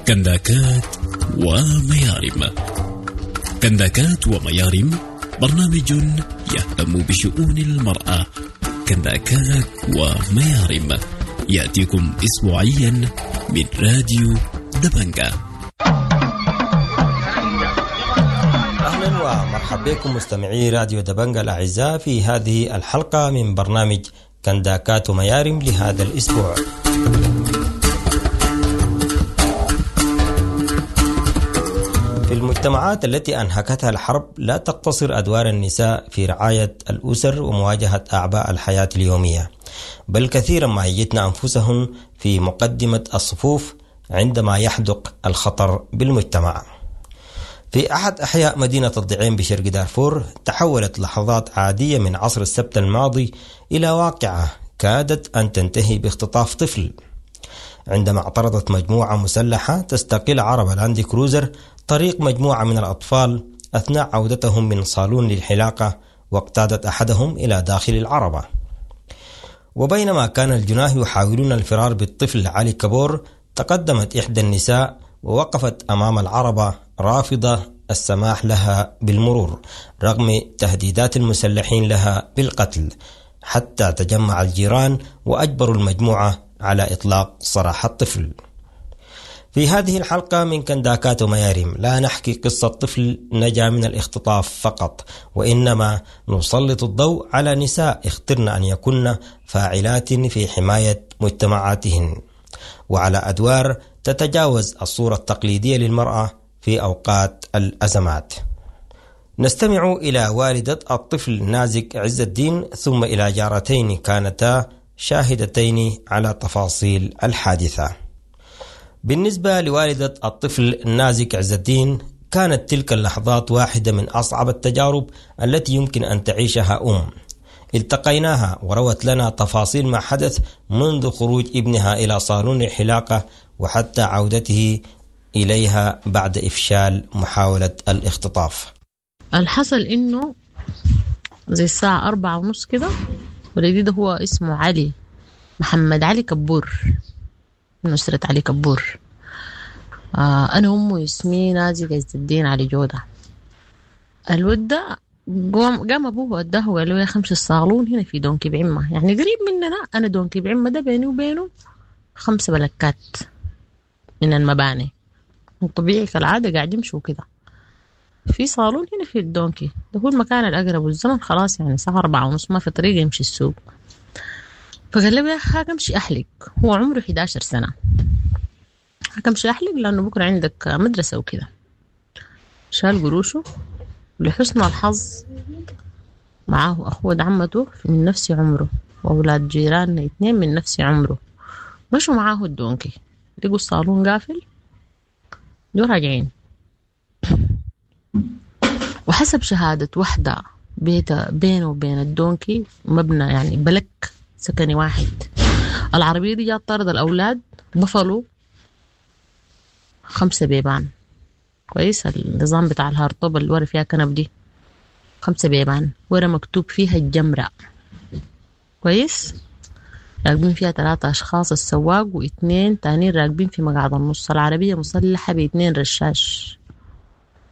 كنداكات وميارم. كنداكات وميارم برنامج يهتم بشؤون المرأة. كنداكات وميارم يأتيكم أسبوعيا من راديو دبنجة. أهلا ومرحبا بكم مستمعي راديو دبنجة الأعزاء في هذه الحلقة من برنامج كنداكات وميارم لهذا الأسبوع. في المجتمعات التي أنهكتها الحرب لا تقتصر أدوار النساء في رعاية الأسر ومواجهة أعباء الحياة اليومية، بل كثيرا ما يجدن أنفسهن في مقدمة الصفوف عندما يحدق الخطر بالمجتمع. في أحد أحياء مدينة الضعين بشرق دارفور تحولت لحظات عادية من عصر السبت الماضي إلى واقعة كادت أن تنتهي باختطاف طفل، عندما اعترضت مجموعة مسلحة تستقل عربة لاند كروزر طريق مجموعة من الأطفال أثناء عودتهم من صالون للحلاقة، واقتادت أحدهم إلى داخل العربة. وبينما كان الجناه يحاولون الفرار بالطفل علي كبور، تقدمت إحدى النساء ووقفت أمام العربة رافضة السماح لها بالمرور رغم تهديدات المسلحين لها بالقتل، حتى تجمع الجيران وأجبروا المجموعة على إطلاق سراح الطفل. في هذه الحلقة من كنداكات وميارم لا نحكي قصة طفل نجا من الاختطاف فقط، وإنما نسلط الضوء على نساء اخترن أن يكن فاعلات في حماية مجتمعاتهن، وعلى أدوار تتجاوز الصورة التقليدية للمرأة في أوقات الأزمات. نستمع إلى والدة الطفل نازك عز الدين، ثم إلى جارتين كانتا شاهدتين على تفاصيل الحادثة. بالنسبة لوالدة الطفل نازك عز الدين، كانت تلك اللحظات واحدة من أصعب التجارب التي يمكن أن تعيشها أم. التقيناها وروت لنا تفاصيل ما حدث منذ خروج ابنها إلى صالون الحلاقة وحتى عودته إليها بعد إفشال محاولة الاختطاف. الحصل إنه زي الساعة 4:30 كده، ولدي ده هو اسمه علي محمد علي كبور، من أسرة علي كبور. أنا أمه اسمي نازك عز الدين علي جودة. الود ده قام أبوه وداه وقال له يا أخي امشي الصالون هنا في دونكي بعمة، يعني قريب مننا. أنا دونكي بعمة ده بيني وبينه 5 بلكات من المباني، طبيعي كالعادة قاعد يمشوا كده في صالون هنا في الدونكي ده، هو المكان الأقرب، والزمن خلاص يعني الساعة 4:30 ما في طريقة يمشي السوق. فقال له يا أخي امشي أحلق، هو عمره 11 سنة، امشي أحلق لأنه بكرة عندك مدرسة وكده. شال قروشه، لحسن الحظ معاه أخوه عمته من نفس عمره وأولاد جيراننا 2 من نفس عمره، مشوا معاه الدونكي، لقوا الصالون قافل، دول راجعين. وحسب شهادة وحدة بيته بينه وبين الدونكي مبنى يعني بلك سكني واحد، العربية دي جات طرد الأولاد، بفلوا 5 بيبان. كويس، النظام بتاع الهارطوب اللي ورا فيها كنب دي 5 بيبان، ورا مكتوب فيها الجمرة. كويس، راكبين فيها 3 أشخاص، السواق و2 تانيين راكبين في مقعد النص. العربية مسلحة ب2 رشاش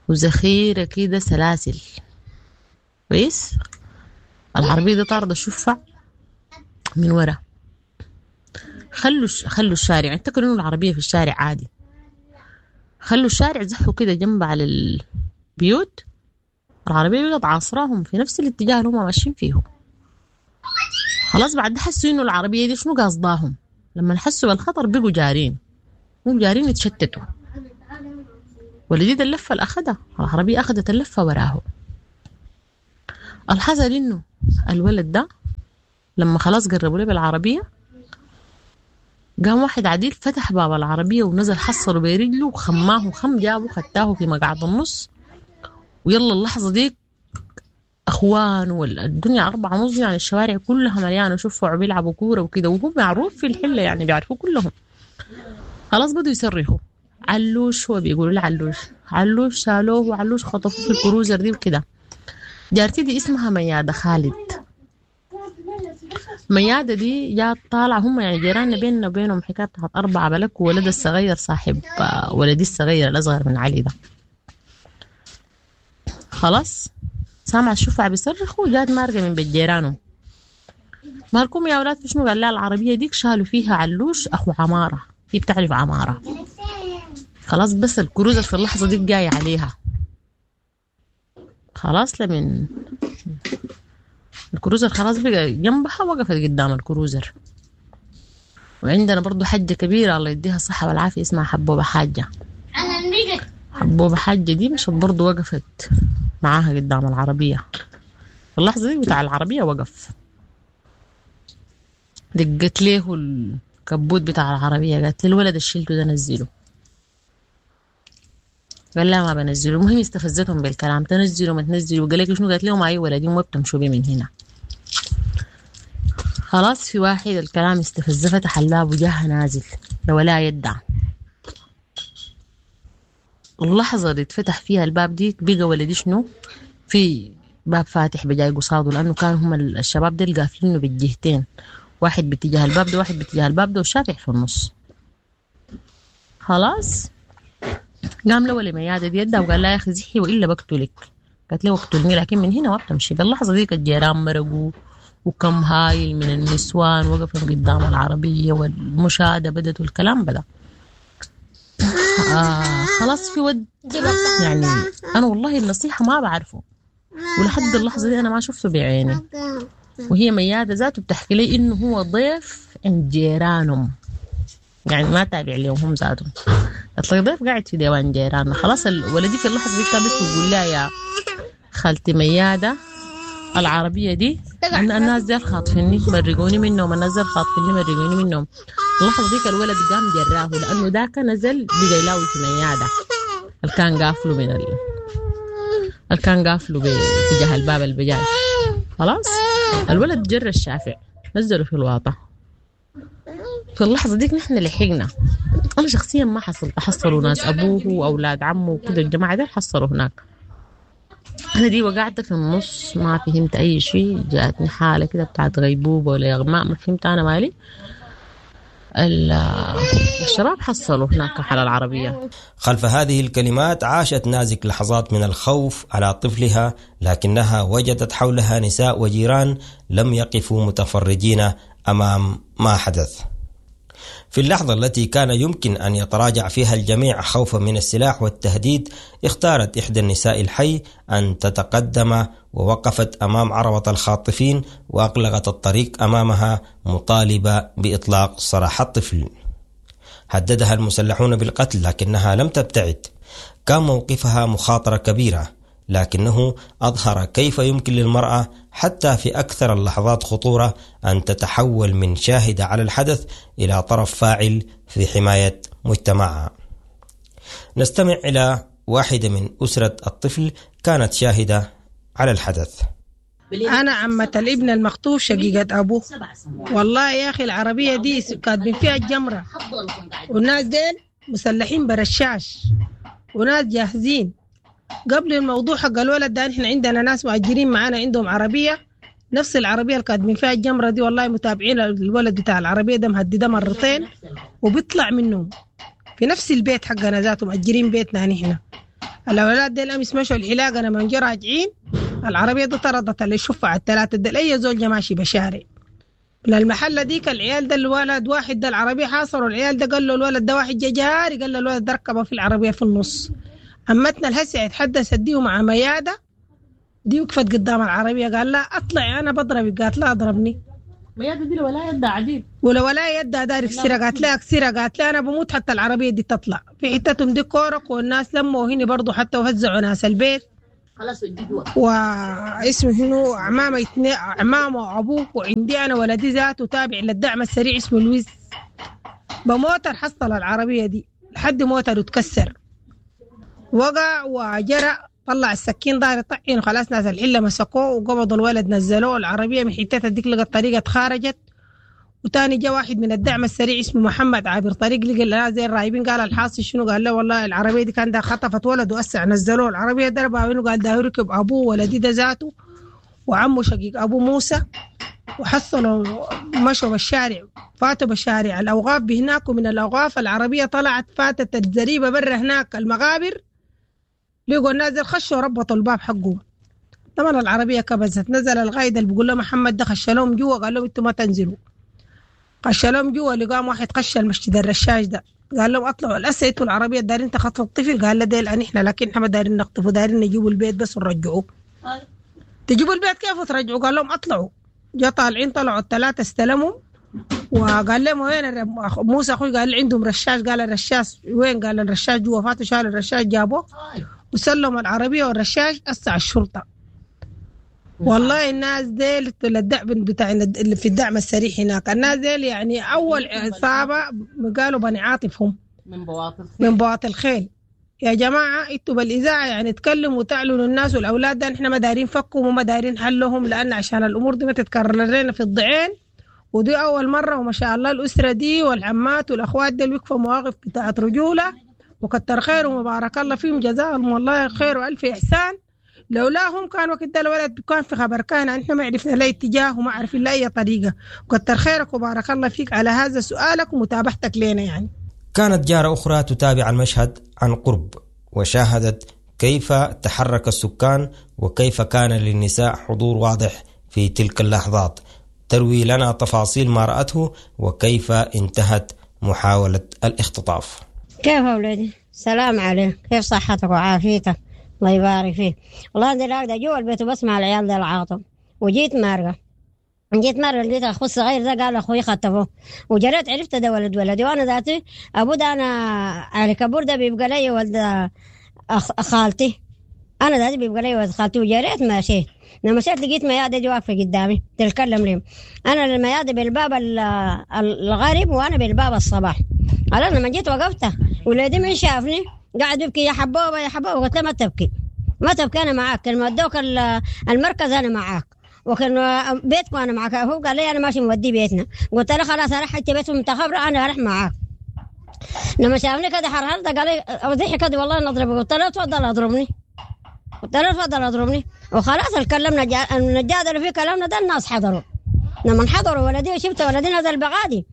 وذخيرة كده سلاسل. كويس، العربية دي طاردة شفع من ورا، خلوا الشارع، اعتقدوا انه العربية في الشارع عادي، خلوا الشارع زحوا كده جنب على البيوت، العربية بقت عاصراهم في نفس الاتجاه اللي هم ماشيين فيه. خلاص بعد حسوا انه العربية دي شنو قصداهم، لما حسوا بالخطر بقوا جارين، هم جارين يتشتتوا. ولدي اللفة اللي أخدها العربية، أخدت اللفة وراه. الحصل إنه الولد ده لما خلاص قربوا له بالعربية، قام واحد عديل فتح باب العربية ونزل، حصله برجله وخماه وخم، جابه خدتاه في مقعد النص. ويلا اللحظة دي أخوان والدنيا 4:30 يعني الشوارع كلها مليانة شوفوا بيلعبوا كورة وكده، وهم معروف في الحلة يعني بيعرفوا كلهم. خلاص بدوا يصرخوا علوش، هو بيقولوا له علوش، علوش شالوه وعلوش خطفوه في الكروزر دي وكده. جارتي دي اسمها ميادة خالد. ميادة دي جات طالعة، هم يعني جيراننا بيننا وبينهم حكاية بتاعت 4 بلك، وولد الصغير صاحب ولدي الصغير الأصغر من علي ده. خلاص سامع الشفع بيصرخوا، جات مارقة من بيت جيرانهم. مالكم يا أولاد في شنو؟ قال لها العربية ديك شالوا فيها علوش أخو عمارة، هي بتعرف عمارة. خلاص بس الكروزر في اللحظة دي جاية عليها. خلاص لمن الكروزر خلاص بقى جنبها، وقفت قدام الكروزر. وعندنا برضو حجة كبيرة الله يديها الصحة والعافية اسمها حبوبة حاجة. حبوبة حاجة دي مشت برضو وقفت معاها قدام العربية. في اللحظة دي بتاع العربية وقف، دقت له الكبوت بتاع العربية، قالت له الولد الشيلته ده نزله. قال لا ما بنزله. المهم استفزتهم بالكلام، تنزلوا ما تنزلوا. قال لك شنو؟ قالت لهم اي ولدي ما بتمشوا بيه من هنا. خلاص في واحد الكلام استفزه، فتح الباب وجاه نازل ولا يدع. اللحظة اللي اتفتح فيها الباب دي بقى ولدي شنو في باب فاتح بجاي قصاده، لأنه كان هم الشباب ديل قافلينه بالجهتين، واحد باتجاه الباب ده واحد باتجاه الباب ده والشافع في النص. خلاص قام له لميادة دي يدها وقال لها يا أخي زحي وإلا بقتلك. قالت له اقتلني لكن من هنا ما بتمشي. باللحظة ديك الجيران مرقوا وكم هايل من النسوان وقفوا قدام العربية والمشاهدة بدت والكلام بدأ. خلاص في ود يعني أنا والله النصيحة ما بعرفه، ولحد اللحظة دي أنا ما شفته بعيني. وهي ميادة ذاته بتحكي لي إنه هو ضيف عند جيرانهم، يعني ما تابع لهم هم ذاتهم. قالت لي ضيف قاعد في ديوان جيراننا. خلاص الولدي في اللحظة دي كانت بتقول لها يا خالتي ميادة العربية دي الناس دي خاطفيني مرقوني منهم، الناس دي خاطفيني مرقوني منهم. اللحظة ديك الولد قام جراه لأنه ذاك نزل بقى يلاوي في ميادة اللي كان قافله من اللي كان قافله باتجاه الباب البجاي. خلاص الولد جر الشافع نزله في الواطة. في اللحظة ديك نحن لحقنا، أنا شخصيا ما حصلت، حصلوا ناس أبوه وأولاد عمه وكده الجماعة دي حصلوا هناك. أنا دي وقعت في النص ما فهمت أي شيء، جاتني حالة كده بتاعت غيبوبة ولا إغماء ما فهمت أنا مالي. الشباب حصلوا هناك على العربية. خلف هذه الكلمات عاشت نازك لحظات من الخوف على طفلها، لكنها وجدت حولها نساء وجيران لم يقفوا متفرجين أمام ما حدث. في اللحظة التي كان يمكن أن يتراجع فيها الجميع خوفا من السلاح والتهديد، اختارت إحدى النساء الحي أن تتقدم ووقفت أمام عربة الخاطفين وأغلقت الطريق أمامها مطالبة بإطلاق سراح الطفل. هددها المسلحون بالقتل لكنها لم تبتعد. كان موقفها مخاطرة كبيرة، لكنه أظهر كيف يمكن للمرأة حتى في أكثر اللحظات خطورة أن تتحول من شاهدة على الحدث إلى طرف فاعل في حماية مجتمعها. نستمع إلى واحدة من أسرة الطفل كانت شاهدة على الحدث. أنا عمة الابن المخطوف شقيقة أبوه. والله يا أخي العربية دي كاتبين فيها الجمرة، والناس دين مسلحين برشاش وناس جاهزين. قبل الموضوع حق الولد ده احنا عندنا ناس مؤجرين معانا عندهم عربية، نفس العربية اللي كاتبين فيها الجمرة دي، والله متابعين الولد بتاع العربية ده مهدده مرتين وبيطلع منهم في نفس البيت حقنا ذاته، مؤجرين بيتنا نحن. الاولاد ديل امس مشوا الحلاقة لما جا راجعين العربية دي طردت اللي شفع الثلاثة ديل، اي زول ماشي بشارع من المحلة ديك. العيال ده الولد واحد ده العربية حاصروا العيال ده، قال له الولد ده واحد جاري، قال له الولد ده ركبه في العربية في النص. عمتنا الهسع اتحدثت دي مع ميادة دي وقفت قدام العربية، قال لها اطلعي انا بضربك، قالت لها اضربني. ميادة دي ولا يدها عديد ولا يدها داري كسيرة، قالت لها كسيرة، قالت لها انا بموت حتى العربية دي تطلع. في حتتهم دي كورك والناس لموا هنا برضو حتى وفزعوا ناس البيت. خلاص واسمه هنا عمامة عمامه وابوه، وعندي انا ولدي ذاته تابع للدعم السريع اسمه لويس. بموتر حصل العربية دي لحد موتر اتكسر وقع وجرى طلع السكين دار يطعن، وخلاص ناس الحلة مسكوه وقبضوا الولد نزلوه العربية من حتتها ديك لقت طريقه اتخارجت. وتاني جا واحد من الدعم السريع اسمه محمد عابر طريق لقى الناس زي الرايبين، قال الحاصل شنو؟ قال له والله العربية دي كان ده خطفت ولد واسع نزلوه العربية ضربها منه، قال ده ركب ابوه ولدي ده ذاته وعمه شقيق ابو موسى. وحصلوا مشوا بالشارع، فاتوا بالشارع الأوقاف بهناك، ومن الأوقاف العربية طلعت فاتت الزريبة برا هناك المغابر، لقوا الناس خشوا ربطوا الباب حقهم. طبعا العربية كبست، نزل القايد اللي بيقول له محمد ده خش لهم جوا، قال لهم انتوا ما تنزلوا. خش لهم جوا، لقام واحد خش المسجد الرشاش ده، قال لهم اطلعوا الاسا انتوا العربية دارين تخطفوا الطفل، قال له ديل احنا لكن احنا ما دارين نخطفه، دارين نجيبوا البيت بس ونرجعوه. تجيبوا البيت كيف وترجعوا؟ قال لهم اطلعوا. جا طالعين، طلعوا الثلاثة استلموا، وقال لهم وين موسى اخوي؟ قال عندهم رشاش. قال الرشاش وين؟ قال الرشاش جوا. فاتوا شالوا الرشاش جابوه وسلموا العربية والرشاش اسع الشرطة. والله الناس ديل الدعم بتاع اللي في الدعم السريع هناك، الناس ديل يعني اول عصابة قالوا بني عاطف هم من بواطي الخيل. يا جماعة انتوا بالاذاعه يعني تكلموا وتعلنوا الناس والاولاد ده احنا ما دارين فكهم وما دارين حلهم، لان عشان الامور دي ما تتكرر لنا في الضعين، ودي اول مرة. وما شاء الله الاسرة دي والعمات والاخوات دي وقفوا مواقف بتاعت رجوله، وكتر خير ومبارك الله فيهم، جزاهم والله خير والف احسان. لولاهم كان وقت ده الولد كان في خبر كان، احنا ما عرفنا لا اتجاه وما عرفنا لا اي طريقه. وكتر خيرك وبارك الله فيك على هذا سؤالك ومتابعتك لنا. يعني كانت جارة أخرى تتابع المشهد عن قرب، وشاهدت كيف تحرك السكان وكيف كان للنساء حضور واضح في تلك اللحظات. تروي لنا تفاصيل ما رأته وكيف انتهت محاولة الاختطاف. كيف أولادي؟ سلام عليك، كيف صحتك وعافيتك؟ الله يبارك فيك. والله أنا راقدة جوا البيت وبسمع العيال ده العاطم، وجيت مارقة، جيت مرة لقيت أخوي الصغير ده قال أخوي خطفوه، وجريت عرفت ده ولد ولدي، وأنا ذاتي أبو ده أنا علي كبور ده بيبقى لي ولد خالتي، أنا ذاتي بيبقى لي ولد خالتي. وجريت مشيت، لما مشيت لقيت ميادة دي واقفة قدامي تتكلم لي، أنا الميادة بالباب الغرب وأنا بالباب الصباح. أنا لما جيت وقفت ولدي من شافني قاعد يبكي، يا حبوبة يا حبوبة. قلت له ما تبكي ما تبكي، أنا معاك، لما ادوك المركز أنا معاك، وكان بيتكم انا معك. هو قال لي انا ماشي مودي بيتنا، قلت له خلاص انا حتى بيتهم انت خبره انا اروح معاك. لما شافني كده حرحرت قال لي ضحك كده والله نضربك، قلت له تفضل اضربني، قلت له تفضل اضربني. وخلاص اتكلمنا نتجادل في كلامنا ده، الناس حضروا. لما حضروا ولدي وشفت ولدي نزل بغادي،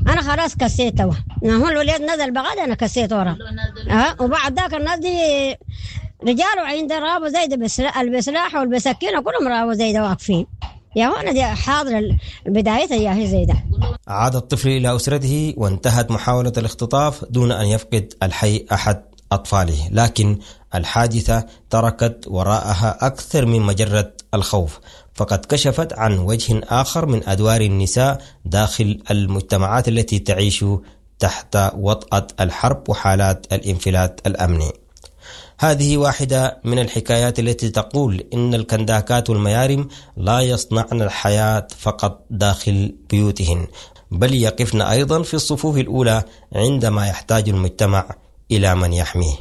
انا خلاص كسيته. هو الولد نزل بغادي انا كسيت ورا. وبعد ذاك الناس دي رجال وعند رابو زي البسلاح والبسكينة كلهم رابو زي ده واقفين. يا هون دي حاضر بدايتها يا هي زي ده. عاد الطفل إلى أسرته وانتهت محاولة الاختطاف دون أن يفقد الحي أحد أطفاله، لكن الحادثة تركت وراءها أكثر من مجرة الخوف، فقد كشفت عن وجه آخر من أدوار النساء داخل المجتمعات التي تعيش تحت وطأة الحرب وحالات الانفلات الأمني. هذه واحدة من الحكايات التي تقول إن الكنداكات والميارم لا يصنعن الحياة فقط داخل بيوتهن، بل يقفن أيضا في الصفوف الأولى عندما يحتاج المجتمع إلى من يحميه.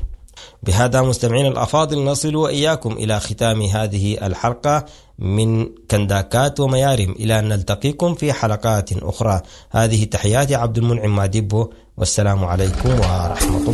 بهذا مستمعين الأفاضل نصل وإياكم إلى ختام هذه الحلقة من كنداكات وميارم، إلى أن نلتقيكم في حلقات أخرى. هذه تحياتي عبد المنعم مادبو، والسلام عليكم ورحمة الله.